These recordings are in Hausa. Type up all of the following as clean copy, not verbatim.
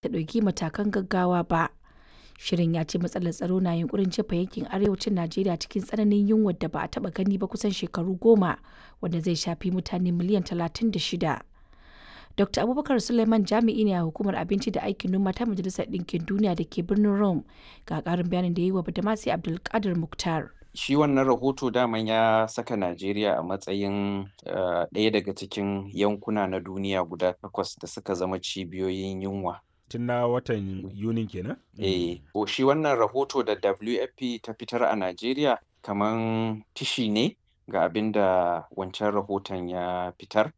Ta ɗauki matakan gaggawa ba. Shirin ya ce matsalar tsaro na yunƙurin jefa yankin arewacin Najeriya cikin tsananin yunwar da ba a taɓa gani ba kusan shekaru 10, wanda zai shafi mutane miliyan 36. Dr. Abubakar Suleiman jami'i ne a Hukumar Abinci da Aikin Noma ta Majalisar Ɗinkin Duniya da ke birnin Rome, ga ƙarin bayanin da ya yi wa Badamasi Abdulkadir Mukhtar. Shi wannan rahoto daman ya saka Najeriya a matsayin ɗaya daga cikin yankuna na duniya guda takwas da suka zama cibiyoyin yunwa. Tun na watan Yunin kenan? Eh, ko shi wannan rahoto da WFP ta fitar a Najeriya kaman tishi ne ga abin da wancan rahoton ya fitar.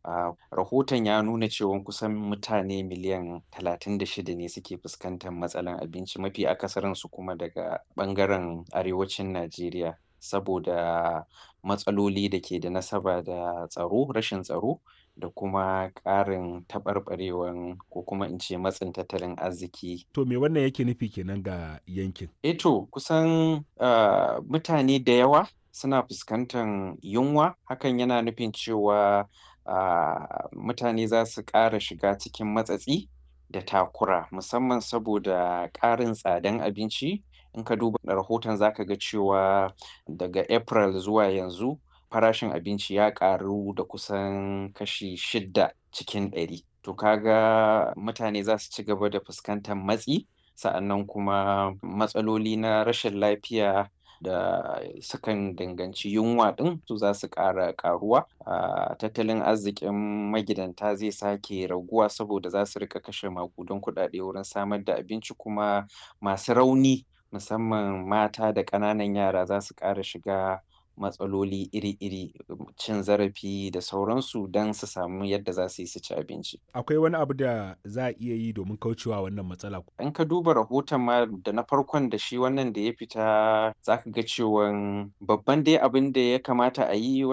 Rahoton ya nuna cewa kusan mutane miliyan 36 ne suke fuskantar matsalan abinci, mafi akasarinsu kuma daga ɓangaren arewacin Najeriya, saboda matsaloli da ke da nasaba da tsaro, rashin tsaro da kuma ƙarin taɓarɓarewan ko kuma in ce matsin tattalin arziki. To me wannan yake nufi kenan ga yankin? Eh to kusan mutane da yawa suna fuskantan yunwa, hakan yana nufin cewa mutane za su ƙara shiga cikin matsatsi da takura, musamman saboda ƙarin tsadan abinci. In ka duba rahoton, za ka ga cewa daga April zuwa yanzu farashin abinci ya ƙaru da kusan kashi 6%. To ka ga mutane za su ci gaba da fuskantar matsi, sa'annan kuma matsaloli na rashin lafiya da sukan danganci yunwa ɗin su za su ƙara ƙaruwa. Tattalin arzikin magidanta zai sake raguwa saboda za su riƙa kashe maƙudan kuɗaɗe wurin samar da abinci, kuma masu rauni, musamman mata da ƙananan yara, za su ƙara shiga matsaloli iri-iri, cin zarafi da sauransu don su samu yadda za su yi su ci abinci. Akwai wani abu da za a iya yi domin kaucewa wannan matsala? In ka duba rahoton ma, da na farkon da shi wannan da ya fita, za ka ga cewan babban dai abin da ya kamata a yi